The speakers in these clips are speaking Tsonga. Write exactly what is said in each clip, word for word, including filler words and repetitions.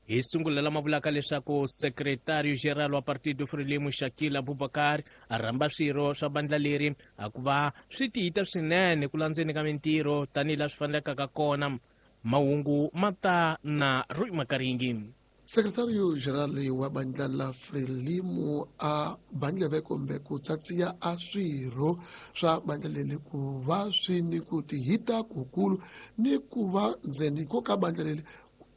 Hi sungula lama vulaka leswaku Secretario General wa Partido Frelimo Shakil Abubakar a rhamba swirho swa bandla leri a ku va swi tiyita swinene ku landzeni ka mintirho tanihi laha swi fanelekaka kona. Mahungu ma ta na Roy Makaringi. Secretario General wa bandla la Frelimo a bandleve kumbe ku tsatsiya a swirho swa bandla leri ku va swi ni ku tihita kukulu ni ku va ndzeni ko ka bandla leri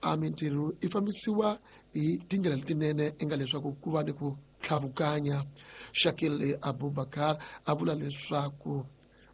a mintirho i fambisiwa hi tindlela letinene i nga leswaku ku va ni ku tlhavukanya. Shakil Abubakar a vula leswaku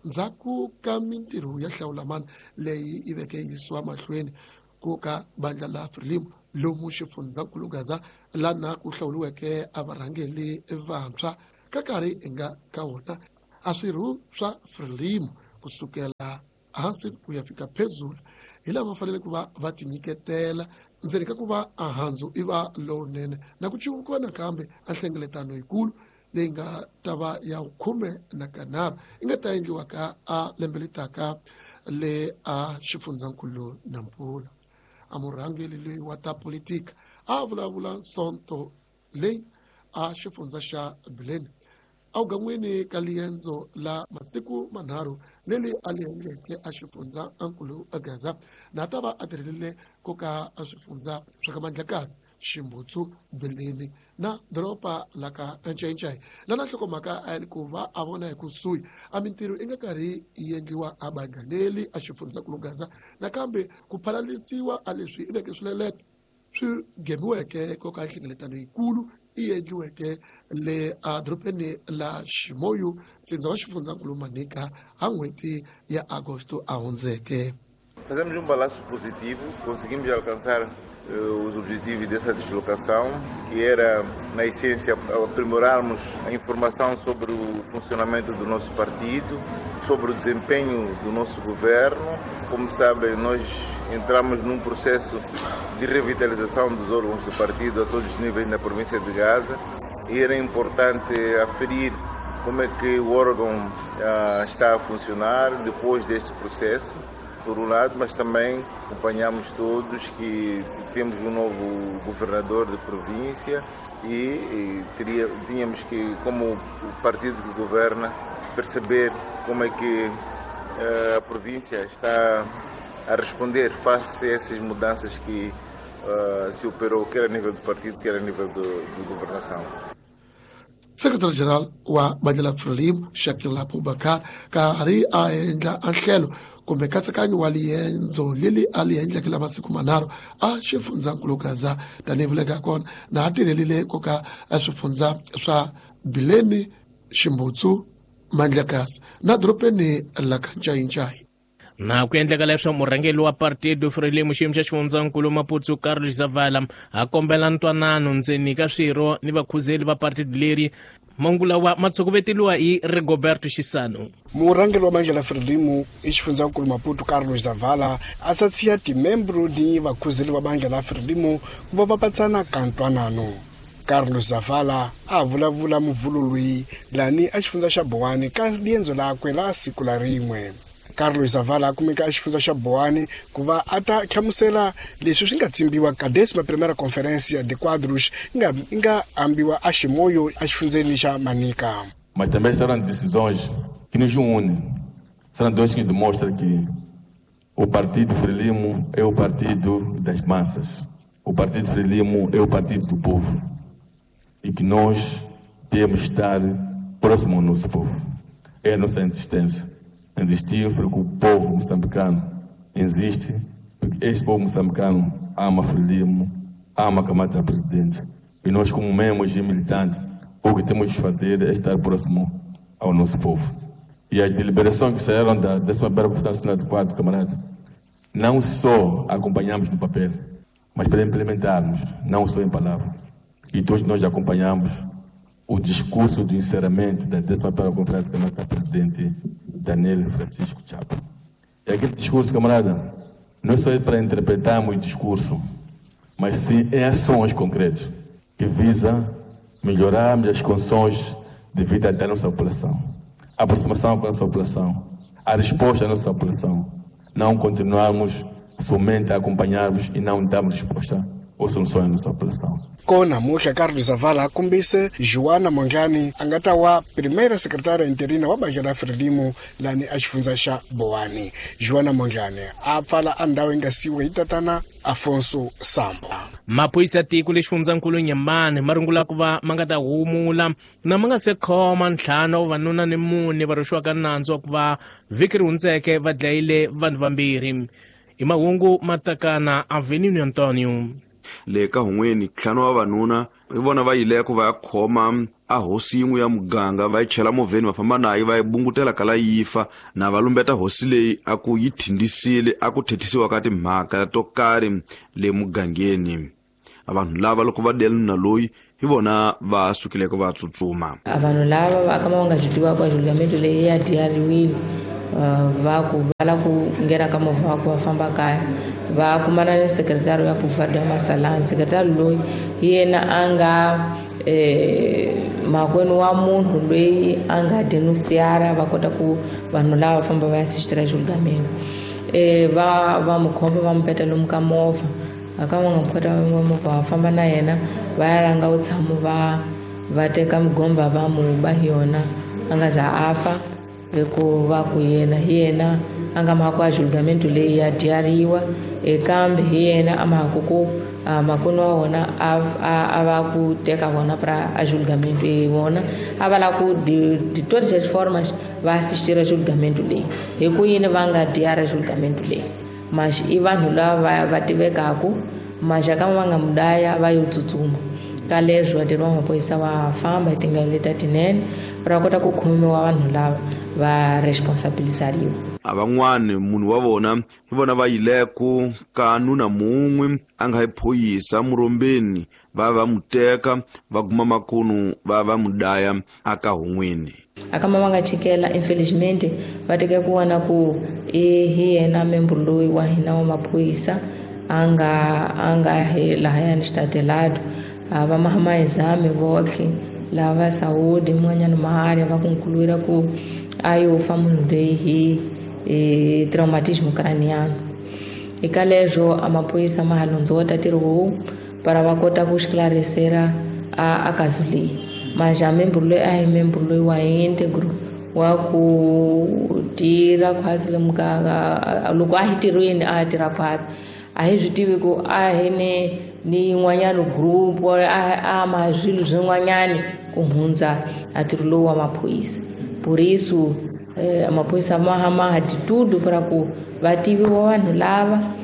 ndzhaku ka mintirho ya hlawulamani leyi yi veke yisiwa mahlweni ku ka bandla la Frelimo lomu xifundzankulu Gaza lana ku hlawuriweke a varhangeli vantshwa ka nkarhi hi nga ka wona a swirho swa Frelimo kusukela hansi ku ya fika phezulu hi lava fanele ku va va tinyiketela ndzeni ka ku va a handzu i va lowunene na ku civukiwa nakambe a nhlengeletano yikulu leyi nga ta va ya khume na kanharhu yi nga ta endliwa ka a lembe letaka le a xifundzankulu Nampula. A murhangeri loyi wa ta politika a vulavula Sonto leyi a xifundza xa Bileni awugan'wini ka liendzo la masiku manharhu leri a li endleke a xifundza ankulu Gaza na ta va a tirhelile ku ka a swifundza swa ka Mandlakazi, Ximbutsu, Bileni na doroba la ka Ncayincai. Lana nhlokomhaka a yi ku va a vona hi kusuhi a mintirho i nga karhi yi endliwa a bandla leri a xifundzankulu Gaza nakambe ku phalalisiwa a leswi i veke swileleto swi gemiweke ko ka nhlengeletano yikulu yi endliweke le a dorobeni la Ximoyu ntsindza wa xifundzankulu Manica ha n'hweti ya Agosto a hundzeke. Fazemos um balanço positivo, conseguimos alcançar uh, os objetivos dessa deslocação, que era, na essência, aprimorarmos a informação sobre o funcionamento do nosso partido, sobre o desempenho do nosso governo. Como sabem, nós entramos num processo de revitalização dos órgãos do partido a todos os níveis na província de Gaza e era importante aferir como é que o órgão uh, está a funcionar depois deste processo, por um lado, mas também acompanhamos todos que temos um novo governador de província e, e teria, tínhamos que, como o partido que governa, perceber como é que uh, a província está a responder face a essas mudanças que uh, se operou, quer a nível do partido, quer a nível de governação. Secretario-Geral wa bandla la Frelimo Shakil Abubakar karhi a endla a nhlelo kumbe nkatsakanyo wa liendzo leri a li endleke la masiku manharhu a xifundzankulu Gaza tanihi vuleka kona na a tirhelile ku ka a swifundza swa Bileni, Ximbutsu, Mandlakazi na dorobeni la ka Ncayincai. Na ku endleka leswo murhangeri wa Partido Frelimo xiyimo xa xifundzankulu Maputo Carlos Zavala a kombela ntwanano ndzeni ka swirho ni vakhuzeli va partido leri. Mangula wa matsokoveteliwa hi Rigoberto Xisano. Murhangeri wa bandla la Frelimo i xifundzankulu Maputo Carlos Zavala a tsatsiya timembro ni vakhuzeli va bandla la Frelimo ku va va patsana ka ntwanano. Carlos Zavala a vulavula muvhulo loyi lani a xifundza xa Boane ka liendzo lakwe la siku la rin'we. Carlos Zavala a kumeka a xifundza xa Boane ku va a ta hlamusela leswi swi nga tsimbiwa ka décima primeira conferência de quadros nga nga ambiwa a Ximoyo a xifundzeni xa Manica. Mas também serão decisões que nos unem. Serão dois que demonstram que o Partido Frelimo é o partido das massas. O Partido Frelimo é o partido do povo. E que nós temos que estar próximo ao nosso povo. É a nossa insistência. Insistir porque o povo moçambicano insiste, porque este povo moçambicano ama Frelimo, ama Camata Presidente. E nós, como membros e militantes, o que temos de fazer é estar próximo ao nosso povo. E as deliberações que saíram da décima primeira Conferência Nacional de Quadros, camarada, não só acompanhamos no papel, mas para implementarmos, não só em palavras. E todos nós acompanhamos o discurso de encerramento da décima primeira Conferência Camata Presidente Daniel Francisco Chapo. E aquele discurso, camarada, não é só para interpretarmos o discurso, mas sim em ações concretas que visam melhorarmos as condições de vida da nossa população, a aproximação com a nossa população, a resposta da nossa população. Não continuarmos somente a acompanharmos e não darmos resposta ou soluções à nossa população. Kona muhla Carlos Zavala a kombise Joana Mondlane a nga ta wa primeira secretária interina wa bandla la Frelimo lani a xifundza xa Boane. Joana Mondlane a pfala a ndhawu yi nga siyiwa hi tatana Afonso Sambo. Maphorisa ya tiko lexifundzankulu Nyembane ma rungula ku va ma nga ta humula na ma nga se khoma ntlhanu wa vavanuna ni mune va rhwexiwaka nandzu wa ku va vhiki ri hundzeke va dlayile vanhu vambirhi. I mahungu matakana Avenue Antonio. Le ka hun'weni ntlhanu wa vavanuna hi vona va yileko va ya khoma a hosi yin'we ya muganga va yi chela movheni va famba nayo va yi bungutela kala yi fa na va lumbeta hosi leyi a ku yi thindisile a ku thethisiwa ka timhaka to karhi le mugangeni. A vanhu lava loko va dela nuna loyi hi vona va sukileko va tsutsuma. A vanhu lava va ka va nga byi tivaka a julgamento leyi ya diyariwile va ku va la ku nghena ka movha wa ku va famba kaya va kumana ni sekretari ya Pufado ya Masalani. Sekretari loyi hi yena a nga makwenu wa munhu loyi a nga denunciara va kota ku vanhu lava famba va ya assistira julgamento. Va va mu khoma va mu peta lomu ka movha a ka va nga mu kota movha va famba na yena va ya langa vutshamo va va teka mugomba va mu ba hi yona a nga za a fa hikuva ku yena hi yena a nga mhaka a julgamento leyi ya dyariwa kambe hi yena a mhaka ku makwenu wa wona a va ku teka vona pra a julgamento e vona a va lava ku de, de todas as formas va assistira julgamento leyi hi ku yini va nga dyara julgamento leyi mas i vanhu lava va tivekaku maxaka va nga mudaya va yo tsutsuma ka leswi vatirhi va maphorisa va famba hi tindlela leti tinene va kota ku khomiwa vanhu lava va responsabilizariwa. A van'wani munhu wa vona hi vona va yileko ka nuna mun'we a nga hi phoyisa murombeni va va mu teka va guma makunu va va mu daya aka hun'wini. Akama va nga chikela infelizmente va teka ku vona ku i hi yena membro loyi wa hina wa maphorisa a nga a nga hi lahayani xitatelado va mahamazame votlhe lava saúde mun'wanyana maharya va concluir ku a yo fa munhu loyi hi e, traumatismo craniano. Eka leswo a maphorisa ma ha londzota ntirho lowu para va kota ku esclarecera a, a caso leyi. Mas a membro loyi a hi membro loyi wa íntegro wa ku tirha khwatsi lomu ka loko a hi tirhweni a tirha khwatsi a hi swi tivi ku a hi ni ni yin'wanyana group a a ma swilo swin'wanyani ku hundza a ntirho lowu wa maphorisa. Por isso eh, maphorisa ma hama de tudo para ku va tiviwa vanhu lava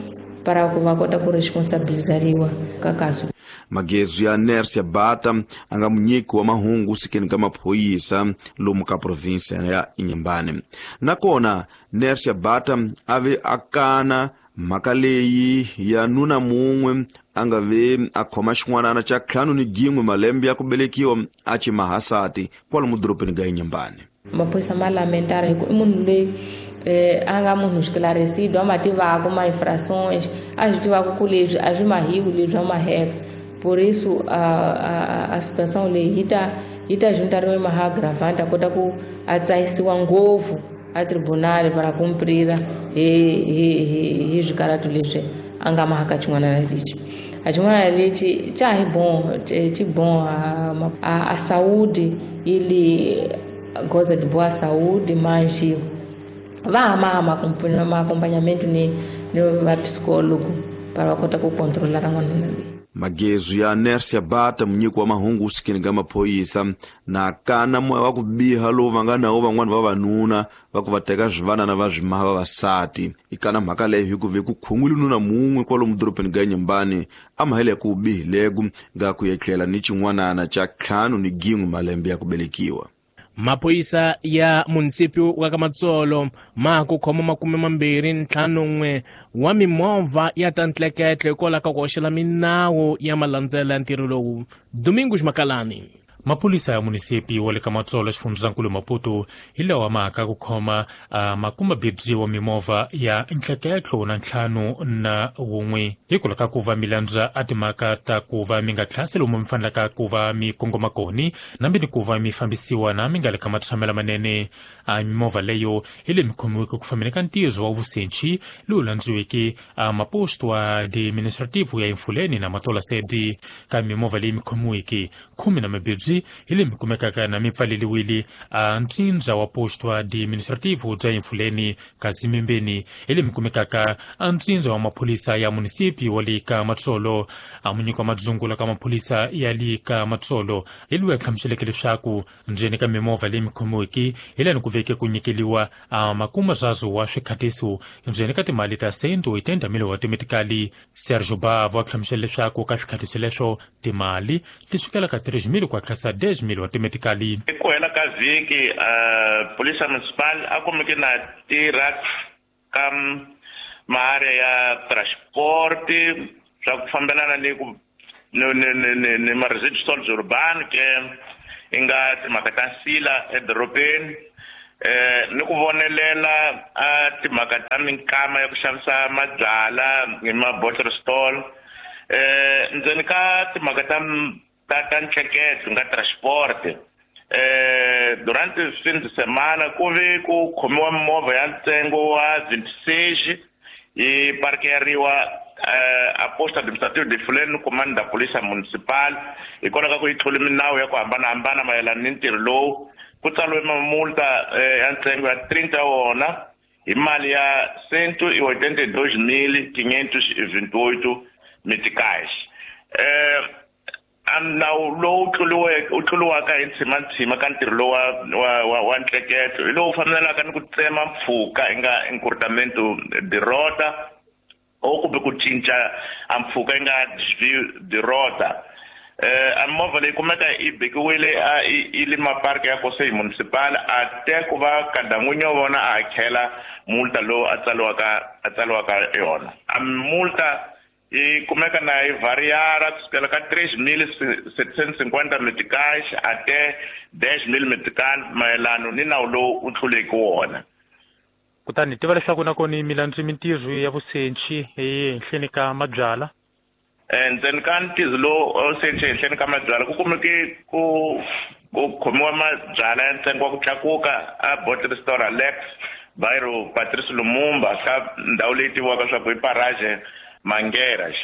para ku va kota ku responsabilizariwa ka kaso. Magezu ya Nersia Bata a nga munyiki wa mahungu sikeni ka maphorisa lomu ka provinsia ya Inhambane. Nakona Nersia Bata a ve a kana mhaka leyi ya nuna mun'we a nga ve a khoma xin'wanana xa ntlhanu ni gin'we malembe ya ku velekiwa a ci mahasati kwalomu dorobeni ga Inhambane. Maphorisa ma lamentara hi ku i munhu loyi a nga munhu esclarecido a ma tivaka ma infrações a swi tivaka ku leswi a swi mahiwi leswi a maheka. Por isso a, a, a situação leyi yi ta yi ta juntariwa maha agravante a kota ku a tsahisiwa ngopfu a tribunal para cumprira hi hi hi swikaratu leswi a nga mahaka xin'wana lexi. A xin'wana lexi xa hi bom xi bom a, a, a saúde ele goza de boa saúde, mas va hama ma acompanhamento ni ni va psicólogo para va kota ku controlar n'wana loyi. Magezu ya Nersia Bata munyiki wa mahungu sikeni ka maphorisa na kana moya wa ku biha lowu va nga nawo van'wani vavanuna va ku va teka swivanana va swi maha vavasati. I kana mhaka leyi hi ku ve ku khungwile nuna mun'we kwalomu dorobeni ga Inhambane a mahele ku bihileko nga ku etlela ni xin'wanana xa ntlhanu ni gin'we malembe ya ku velekiwa. Maphorisa ya munisipio wa Kamatsolo ma ku khoma makume mambirhi ntlhanu n'we wa mimovha ya ta ntleketle hikwalaho ka ku hoxela minawu ya malandzela ya ntirho lowu. Domingos Makalani. Maphorisa ya munisipi wa le ka Matsolo xifundzankulu Maputo hi lawa maka ku khoma uh, makumabibyi wa mimovha ya ntleketlo na ntlhanu na wun'we hikwalaho ka ku va mi landza a timhaka ta ku va mi nga tlhasi lomu mi fanelaka ku va mi kongoma koni nambi ni ku va mi fambisiwa na mi nga le ka matshamelo manene. A mimovha leyo hi le mi khomiweke ku fambeni ka ntirho wa vusenchi lowu landziweke a maposto wa administrativo ya Emfuleni na Matola Sedi. Ka mimovha leyi mi khomiweke khume na mabibyi hi le mi kumekaka na mi pfaleliwile a ntsindza wa posto administrativo bya Emfuleni, kasi mimbeni hi le mi kumekaka a ntsindza wa maphorisa ya munisipi wa le ka Matsolo. A munyiki wa madzungula ka maphorisa ya le ka Matsolo hi loyi a hlamuseleke leswaku ndzeni ka mimovha leyi mi khomiweke hi lani ku veke ku nyikeliwa a makumazazo wa swikhatiso ndzeni ka timali ta cento oitenta mil wa timetikali. Sergio Bavo a hlamusela leswaku ka swikhatiso leswo timali ti sukela ka três mil ku hatlisa dez mil wa timetikali. Ku hela ka vhiki uh, polisa municipal a kumeke na tirha ka maarea ya transport swa ku fambelana ni ku ni ni ni ni ma residuals urban ke i nga timhaka ta nsila edorobeni eh ni ku vonelela a timhaka ta minkama ya ku xavisa mabyala hi ma bottle stall eh ndzeni ka timhaka ta ta ta ntleketlo nga transport eh durante fin de semana ku ve ku khomiwa mimovha ya ntsengo wa vinte e seis yi parkeriwa a posto administrativo de Fuleno comando da polícia municipal hikwalaho ka ku yi tlule minawu ya ku hambanahambana mayelana ni ntirho lowu. Ku tsariwe mamulta ya ntsengo ya trinta wona hi mali ya cento e oitenta e dois mil quinhentos e vinte e oito meticais. Eh nawu lowu tluriweke u tluriwaka hi ntshima ka ntirho lowu wa wa wa ntleketlo hi lowu fambelaka ni ku tsema mpfhuka i nga encurtamento de rota o kumbe ku cinca a mpfhuka i nga desvio de rota. Eh a movha leyi kumeka yi bekiwile a i le mapark ya Conselho Municipal a te ku va kada n'winyi wa vona a hakela multa lowu a tsariwaka a tsariwaka yona. A multa yi kumeka na yi variara kusukela ka três mil setecentos e cinquenta meticais até dez mil meticais mayelano ni nawu lowu u tluleke wona. Kutani tiva leswaku na kona milandzu mintirho ya vusenchi ehenhleni ka mabyala. Ndzeni ka ntirho lowu senchi ehenhleni ka mabyala ku kumeke ku ku khomiwa mabyala ya ntsengo wa ku tlakuka a bottle store Alex bairro Patrice Lumumba ka ndhawu leyi tiviwaka swa ku i Parage Mangueiras.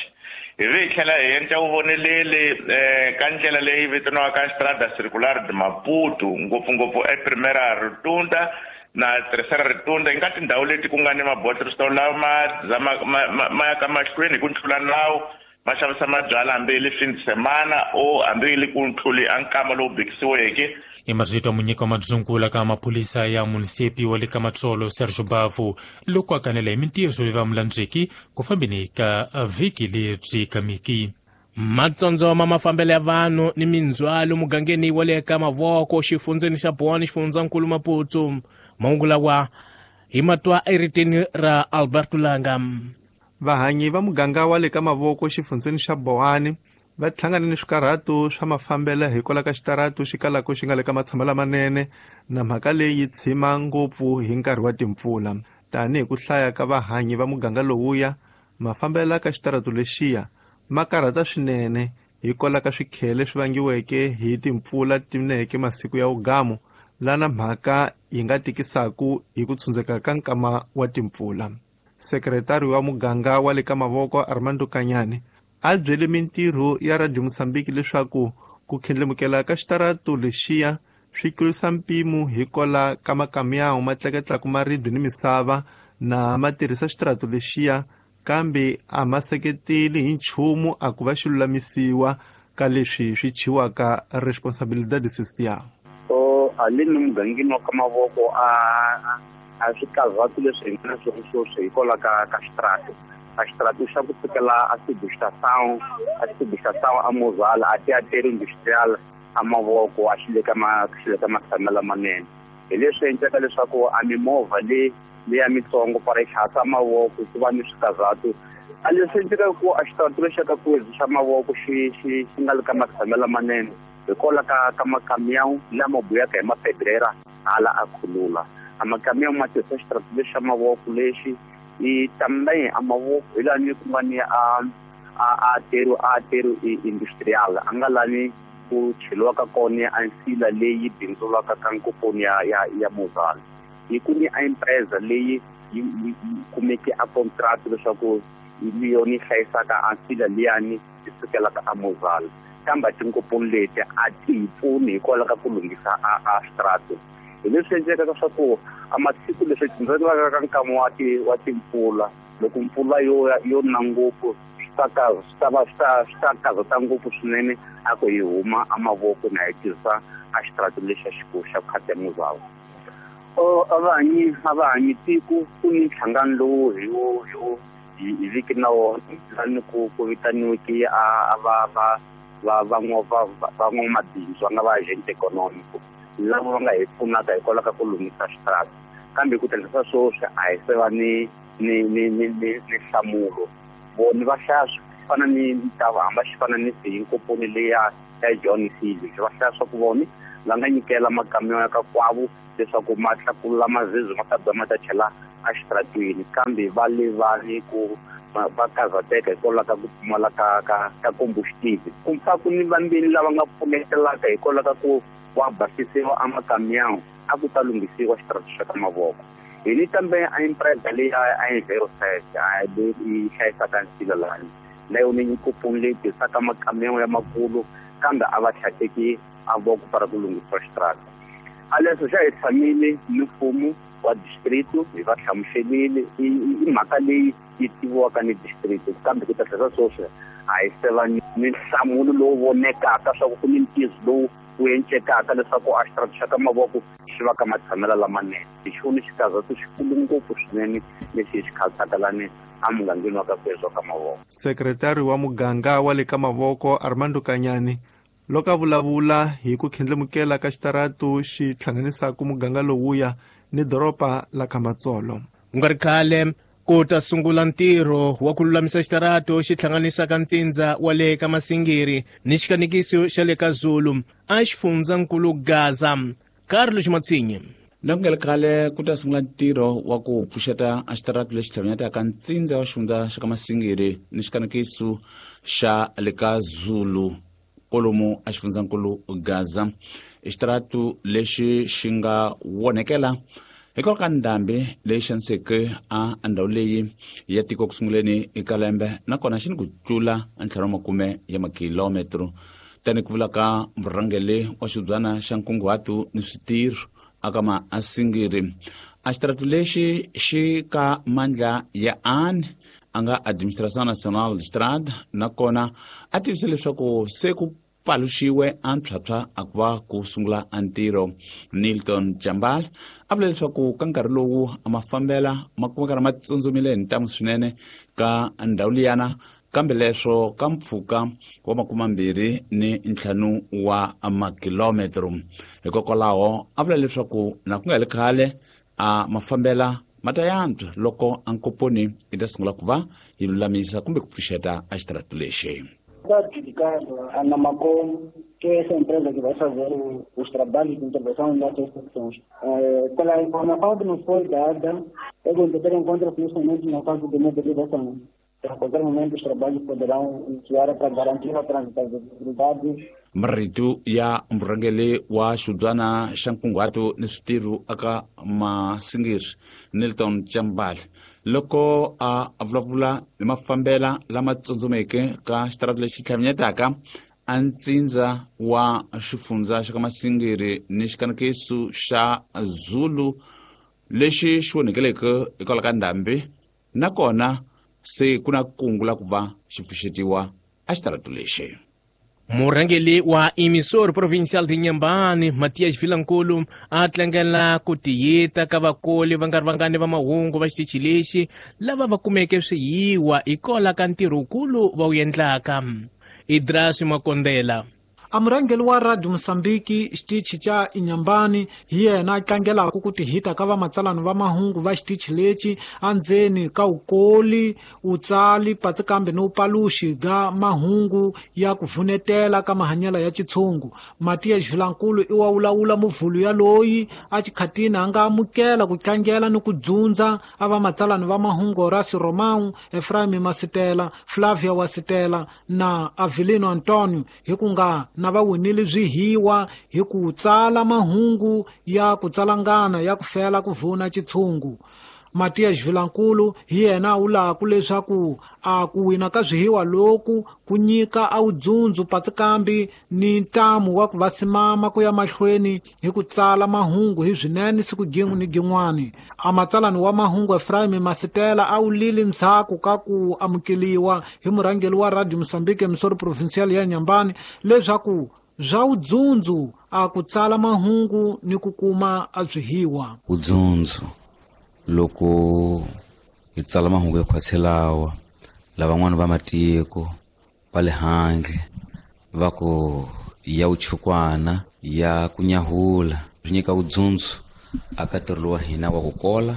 Hi vi hi tlhela hi endla vuvoneleli eh, ka ndlela leyi vitaniwaka Estrada Circular de Maputo ngopfungopfu ePrimeira Rotunda na Terceira Rotunda, nga tindhawu leti ku nga ni mabottle store lawa ma ma ma ya ka mahlweni hi ku tlula nawu ma xavisa mabyala hambi yi le fin de semana o hambi yi le ku tluli a nkama lowu bekisiweke. I marito ya munyiki wa madzungula ka maphorisa ya munisipi wa le ka Matsolo Sergio Bavo loko a kanela hi mintirho leyi va mulandzeki ku fambeni ka vhiki lebyi kamiki. Matsondzo ma mafambelo ya vanhu ni mindzhwalo mugangeni wa le ka Mavoko xifundzeni xa Boane xifundzankulu Maputo. Mahungu lawa hi matwa eritini ra Alberto Langa. Vahanyi va muganga wa le ka Mavoko xifundzeni xa Boane va hlangane ni swikarhato swa mafambelo hikwalaho ka xitaratu xi kalaka xi nga le ka matshamo lamanene na mhaka leyi tshima ngopfu hi nkarhi wa timpfula. Tanihi ku hlaya ka vahanyi va muganga lowuya, mafambelo ka xitaratu lexiya ma karhata swinene hikwalaho ka swikhele swi vangiweke hi timpfula tineke masiku ya ugamu, lana mhaka yi nga tikisaku hi ku tshundzeka ka nkama wa timpfula. Sekretari wa muganga wa le ka Mavoko Armando Kanyane a byele mintirho ya Radio Mozambique leswaku ku khendlemukela ka xitaratu lexiya swi tlurisa mpimo hikwalaho ka makamyawu ma tleketlaka maribye ni misava na ma tirhisa xitaratu lexiya, kambe a ma seketeli hi nchumu a ku va xi lulamisiwa ka leswi swi chiwaka responsabilidade social. So haleni mugangeni wa ka Mavoko a a swi karhati leswi hi nga na swona sweswi hikwalaho ka ka xitaratu. A xitaratu xa ku sukela a subestação a subestação a Mozala a teatro industrial a Mavoko a xi le ka ma xi le ka matshamelo lamanene. Hi leswi endlaka leswaku a mimovha leyi leya mitsongo para xihatla Mavoko ku va ni swikarhatu. A leswi endleka ku a xitaratu lexi ka ku xa Mavoko xi xi xi nga le ka matshamelo lamanene Hikwalaho ka ka makamiyawu lama buyaka hi mapedrera hala a khulula. A makamiyawu ma tirhisa xitarata lexi xa mavoko lexi i também a mavoko hi lani ku nga ni a a aterro aterro industrial a nga lani ku cheliwaka kona a nsila leyi bindzulaka ka nkoponi ya ya ya Mozal. Hi ku ni a empresa leyi yi kumeke a contract leswaku hi yona yi hlayisaka a nsila liyani yi sukelaka a Mozal. Kambe tinkoponi leti a ti hi pfuni hikwalaho ka ku lunghisa a a xitarata. Hi leswi endlekaka swa ku a masiku leswi tindzelaka ka nkama wa ti wa timpfula loko mpfula yo yo na ngopfu swi ta ka swi ta va swi ta swi ta karhata ngopfu swinene a ku hi huma a mavoko na hi tirhisa a xitarata lexi xa xikulu xa khata Mozal. O a va hanyi a va hanyi tiko ku ni nhlangano lowu hi wo hi wo hi viki na wona lani ku ku vitaniweke a va va va van'wa van'wamabindzu va nga va agent econômico lava va nga hi pfunaka hikwalaho ka ku lunghisa xitarata. Kambe ku tirhisa sweswi a hi se va ni ni ni ni ni ni nhlamulo. Vona va hlaya swi fana ni ntava hamba xi fana ni siyinkoponi leya ya John Seale va hlaya swa ku vona va nga nyikela makamiyo ya ka kwavo leswaku ma tlakula mazizi ma ta ba ma ta chela exitaratweni kambe va levani ku va karhateka hikwalaho ka ku pfumala ka ka ka combustible. Ku pfa ku ni vambirhi lava nga pfunetelaka hikwalaho ka ku wa basisiwa a makamiyawu a ku ta lunghisiwa xitarata xa ka mavoko. Hi ni kambe a empresa leyi a Enviroset a leyi hlayisaka nsila lani na yona yi leyi tirhisaka makamiyawu ya makulu kambe a va tlhateki a voko para ku lunghisiwa xitarata. A leswi xa hi tshamile ni mfumo wa distrito hi va hlamuselile i mhaka leyi yi tiviwaka ni distrito kambe ku ta tlhela sweswi a hi se va ni nhlamulo lowu vonekaka swa ku ku ni ntiyiso lowu wu encekaka leswaku a xitarata xa ka mavoko xi va ka matshamelo lamanene. Hi xona xikarhato xikulu ngopfu swinene lexi hi xi khansaka lani emugangeni wa ka Kwezwa ka mavoko. Sekretari wa muganga wa le ka mavoko Armando Kanyani loko a vulavula hi ku khendlemukela ka xitaratu xi hlanganisaka muganga lowuya ni doroba la Kamatsolo. Ku nga ri khale ku ta sungula ntirho wa ku lulamisa xitarato xi hlanganisaka ntsindza wa le ka Masingiri ni xikanekiso xa le ka Zulu a xifundzankulu Gaza. Carlos Matsinye. Na ku nga ri khale ku ta sungula ntirho wa ku pfuxeta a xitaratu lexi hlanganyetaka ntsindza wa xifundza xa ka Masingiri ni xikanekiso xa le ka Zulu kolomu a xifundzankulu Gaza. Xitaratu lexi xi nga wonekela hikwalaho ka ndhambi leyi xaniseke a ndhawu leyi ya tiko ku sunguleni eka lembe nakona xi ni ku tlula ntlhanu wa makume ya makilometro tani ku vula ka murhangeri wa xibyana xa nkunguhato ni switirho aka Maasingiri. A xitaratu lexi xi ka mandla ya ani a nga Administração Nacional de Estrada nakona a tivisa leswaku se ku paluxiwe a ntlhwatlhwa a ku va ku sungula a ntirho. Nilton Jambal a vula leswaku ka nkarhi lowu a mafambela ma kumeka ma tsundzumile hi ntamu swinene ka ndhawu liyana kambe leswo ka mpfhuka wa makumambirhi ni ntlhanu wa makilometro. Hikokwalaho a vula leswaku na ku nga heli khale a mafambela ma ta yantswa loko a nkoponi yi ta sungula ku va yi lulamisa kumbe ku pfuxeta a xitaratu lexi. Está adjudicado a Namacom, que é essa empresa que vai fazer os trabalhos de intervenção nessas secções. É, pela informação que nos foi dada, é que ter em conta que neste momento na fase de mobilização. A qualquer momento os trabalhos poderão iniciar para garantir a transitabilidade. Marito ya murhangeri wa xibyana xa nkunguhato ni switirho aka Masingiri Nilton Chambal loko a vulavula hi mafambela lama tsundzumeke ka xitarata lexi tlhavinyetaka a ntsindza wa xifundza xa ka Masingiri ni xikanekiso xa Zulu lexi xi onekeleke hikwalaho ka ndhambi nakona se ku na kungu la ku va xi pfuxetiwa a xitaratu lexi. Murhangeri wa Emissor Provincial de Inhambane, Matias Vilankulu, a tlangela ku tiyita ka vakoli va nga ri vangani va mahungu va xitichi lexi lava va kumeke swiyiwa hikwalaho ka ntirho wukulu va wu endlaka. Idras Makondela. A murhangeri wa Radio Mozambique xitichi xa Inhambane hi yena a tlangelaka ku tihita ka vamatsalani va mahungu va xitichi lexi andzeni ka ukoli utsali patsi kambe ni upaluxi ga mahungu ya ku vunetela ka mahanyelo ya xitshungu. Matias Vilankulu i wa wulawula muvhulu ya loyi a xikhatini a nga amukela ku tlangela ni ku dzundza a vamatsalani va mahungu Horacio Romão, Efraim Masitela, Flavia Wasitela na Avelino Antonio hi ku nga na va winile swihiwa hi ku tsala mahungu ya ku tsalangana ya ku fela ku vuna xitshungu. Matias Vilankulu hi yena a wulaku leswaku a ku wina ka swihiwa loku ku nyika a wudzundzu patsi kambi ni ntamu wa ku va simama ku ya mahlweni hi ku tsala mahungu hi swinene siku gin'we ni gin'wani. A matsalani wa mahungu Efraim Masitela a wulile ndzhaku ka ku amukeliwa hi murhangeri wa Radio Mozambique emisoro provincial ya Inhambane leswaku swa wudzundzu a ku tsala mahungu ni ku kuma a swihiwa. Wudzundzu loko hi tsala mahungu ya khwatselawa lavan'wana va matiko va le handle va ku ya vuchukwana ya ku nyahula swi nyika vudzundzu aka ntirho lowa hina wa ku kola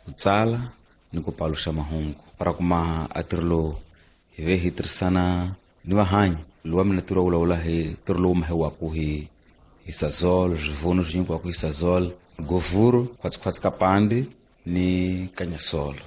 ku tsala ni ku paluxa mahungu ra kuma a ntirho lowu hi ve hi tirhisana ni vahanyi lowa mina ntirho wa vulavula hi ntirho lowu mahiwaku hi hi Sazol swivuno swi nyikiwaku hi Sazol govhuru khwatsikhwatsi ka pandi ni kanyasolo.